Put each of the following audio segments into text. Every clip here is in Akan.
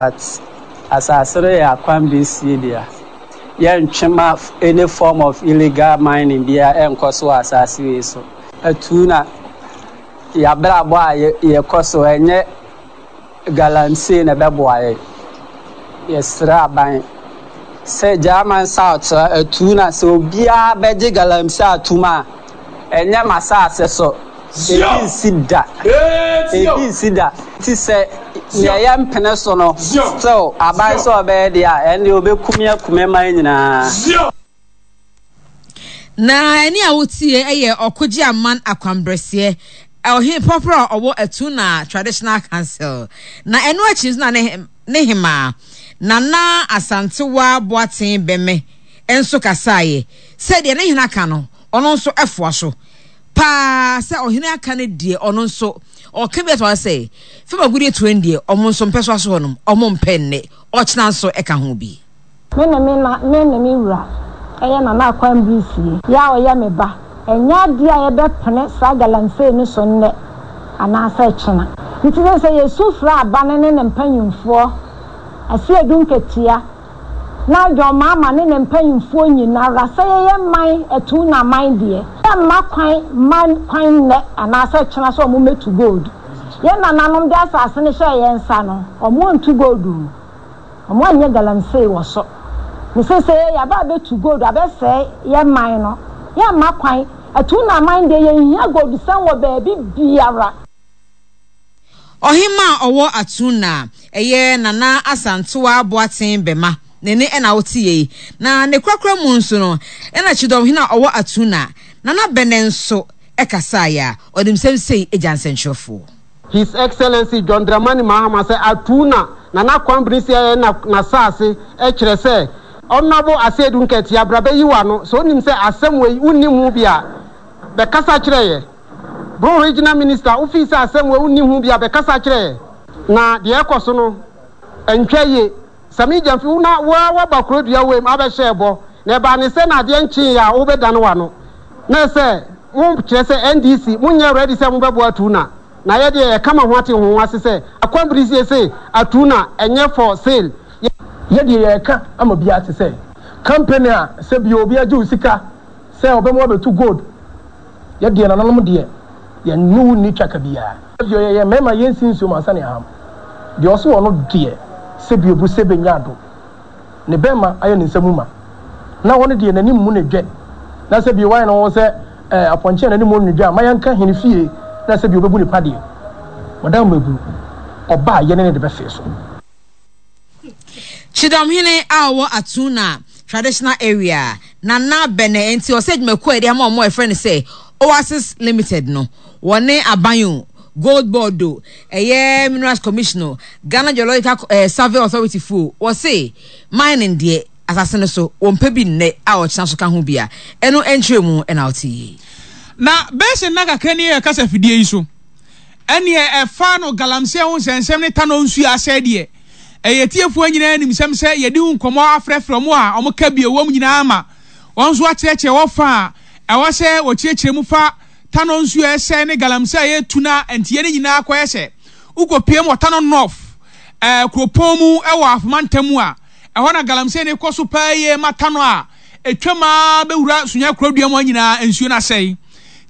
But asase no yɛ akwan besie dea. Yɛntwe ma any form of illegal mining biara ɛnkɔ so wɔ asase wei so. Atuu na yɛabrabɔ a yɛkɔ so ɛnyɛ galamsey na ɛbɛboa yɛn. Yɛsrɛ aban sɛ German South atuu na sɛ obiara bɛgye galamsey atom a, ɛnyɛ m'asase so. Ebi nsi da. Ebi nsi da. Nti sɛ nea yɛmpene so no still aban sɛ ɔbɛyɛ deɛ a, ɛndeɛ ɔbɛkum yɛn akum yɛn man nyinaa. Na ɛne a wotie yɛ Ɔkogye Aman Akwanbrɛseɛ, Ɔhene Pɔporɔ a ɔwɔ Atuna Traditional Council. Na ɛno akyi nso na ne ne hemaa, Nana Asantewaa Boateng Bɛmɛ nso kasaeɛ sɛ deɛ ne hene aka no, ɔno nso foa so paa sɛ ɔhene aka no deɛ ɔno nso ɔka bi ato hɔ sɛ fam agudeɛ tuo no deɛ ɔmo nso mpɛ so aso hɔnom ɔmo mpɛ nnɛ ɔkyena nso ɛka ho bi. Me ne me na, me ne me wura, ɛyɛ Nana Akwan Birisie, yɛ a ɔyɛ me ba, ɛnyɛ adeɛ a yɛbɛpene saa galamsey no so nnɛ anaasɛ kyena. Nti sɛ sɛ yɛsu frɛ aban ne ne mpanyimfoɔ, Asiedu Nketia, na John Mahama ne ne mpanyimfoɔ nyinara sɛ yɛyɛ man atuu na aman deɛ, yɛmma kwan mma kwan nnɛ anaasɛ kyena sɛ wɔn mmɛtu gold. Yɛn nananom de asase no hyɛɛ yɛn nsa no, wɔn antu gold o. Ɔmo anyɛ galamsey wɔ so. Ne sesei yɛaba abɛtu gold abɛsɛe yɛn man no. Yɛmma kwan. Atuu na aman deɛ yɛnhia goldsɛm wɔ baabi biara. Ɔhemmaa a ɔwɔ Atuna, ɛyɛ Nana Asantewaa Boateng Bɛma, ne nne na wote yei. Na ne korakora mu nso no, ɛna Kyidɔmhene a ɔwɔ Atuna, Nana Bɛnɛ nso kasaeɛ a ɔde nsɛm sei gya nsɛnkyerɛfoɔ. His Excellency John Dramani Mahama sɛ atuu na Nana Kwambene si ayɛ na n'asaase kyerɛ sɛ Honourable Asiedu Nketia bra bɛyi w'ano sɛ wonim sɛ asɛm wei wonnim ho bi a bɛkasa kyerɛ yɛ. Bro Regional Minister wofii sɛ asɛm wei wonnim ho bi a bɛkasa kyerɛ yɛ. Na deɛ ɛkɔ so no ɛntwa yie. Sammy Gyamfi wo na wo ara woaba kuro dua wei mu abɛhyɛɛ bɔ na ɛbaa ne sɛ na adeɛ nkyeeɛ a wobɛdane w'ano na ɛsɛ mo kyerɛ sɛ NDC monyɛ ready sɛ mobɛboa Tuna na yɛ deɛ yɛka ma ho ate ho ase sɛ Akwambirisie se Atuna ɛnyɛ for sale. Yɛ deɛ yɛreka ama obiara te sɛ company a sɛ bio obi agye wo sika sɛ ɔbɛma wabɛtu gold yɛ deɛ nananom deɛ yɛn ne wo nni twaka biara. Bio yɛyɛ mmarima yɛnsi nsuo mu ansa na yɛaham deɛ ɔse ɔno deɛ sɛ bio bu sɛ bɛnya ado ne bɛma ayɛ ne nsa mu ma na ɔno deɛ n'anim mu ne dwɛ na sɛ bio wayɛ ne ho sɛ eh, apɔnkye a n'anim mu dwɛ a ma yɛnka hene fie na sɛ bio ɔbɛbu ne pa deɛ wɔdan mmabunu ɔba a yɛne ne de bɛfee so. Kyidɔmhene a ɔwɔ Atuna Traditional Area, Nana Bɛnɛ nti ɔsɛ adwumakuo a yɛde ama wɔn a yɛfrɛ no sɛ Oasis Limited no, wɔne aban o, Gold Board o, ɛyɛ Minerals Commission o, Ghana Geological eh, Survey Authority fo o, wɔse mining deɛ asase no so wɔmpɛ bi nnɛ a ɔkyena so ka ho bi a, ɛno nkyerɛ mu na wote yie. Na bɛyɛ sɛ nna kakra ni yɛ kasa fidie yi so ɛneɛ ɛfa no galamsey ho nsɛnsɛm ne tanɔ nsuo asɛe deɛ ɛyɛ atiefoɔ nyinaa nim sɛm sɛ yɛdi ho nkɔmmɔ afrɛfrɛ wɔn a wɔn ka bi ɛwɔ mu nyinaa ama wɔn nso akyerɛkyerɛ wɔ fa a ɛwɔ sɛ wɔkyerɛkyerɛ mu fa tanɔ nsuo a ɛsɛe ne galamsey a yɛtu na nteɛ no nyinaa kɔyɛ sɛ wokɔpiem wɔ tanɔ north ɛɛ kuropɔn mu ɛwɔ afoma ntam a ɛhɔ na galamsey no kɔ so paa yie ma tanɔ a ɛtwam ara bɛwura Sunyani kurodua mu hɔ nyinaa nsuo no asɛe.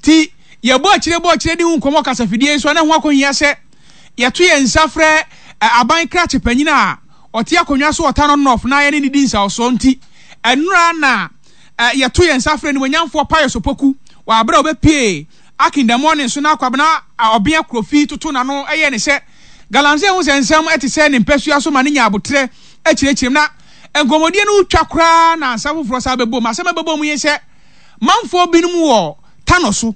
Nti yɛbɔ akyire bɔ akyire di ho nkɔmmɔ kasafidie yi so a na ɛho akɔhia sɛ yɛto yɛn nsa frɛ aban krakye panyin a ɔte akonnwa so wɔ Tano North na yɛne no di nsawɔsoɔ. Nti ɛnora na yɛto yɛn nsa frɛ Animuonyamfoɔ Pius Opoku wɔ aberɛ a ɔbɛpue Akin The Morning so na Kwabena Ɔbea Kofi toto n'ano yɛɛ ne sɛ Galamsey ho nsɛnsɛm te sɛ ne mpasua so ma no nya aboterɛ kyerɛkyerɛ mu. Na nkɔmmɔdie no retwa koraa na nsɛm foforɔ san bɛbom. Asɛm a ɛbɛbom yi sɛ manfoɔ binom wɔ Tano so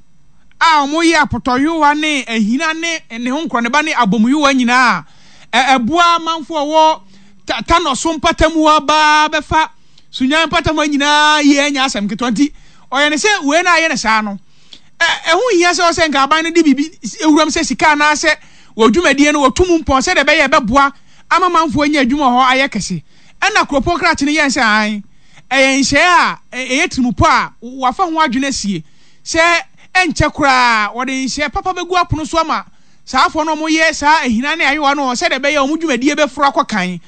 a wɔyɛ apotɔyowa ne ahina ne ne ho nkorɔneba ne abɔmuyowa nyinaa a ɛboa manfoɔ a wɔwɔ Tano so mpatamu hɔ baa bɛfa Sunyani mpatamu hɔ nyinaa yie ɛnyɛ asɛm ketewa nti ɔyɛ ne sɛ wei na ayɛ ne saa no ɛho nhia sɛ ɔsɛ nka aban no de biribi wuram sɛ sika anaasɛ wɔ dwumadie no wɔtu mu mpɔn sɛdeɛ ɛbɛyɛ ɛbɛboa ama manfoɔ anya adwuma wɔ hɔ ayɛ kɛse. Ɛnna kuropɔn krakye no yɛe sɛ, Aane, ɛyɛ nhyɛɛ a ɛyɛ tirimupɔ a wɔafa ho adwene asie sɛ ɛnkyɛ koraa wɔde nhyɛɛ papa bɛgu apono so ama. Saa afoɔ no a wɔyɛ saa ahina ne ayowa no sɛdeɛ ɛbɛyɛ a wɔn dwumadie bɛforo akɔ kan.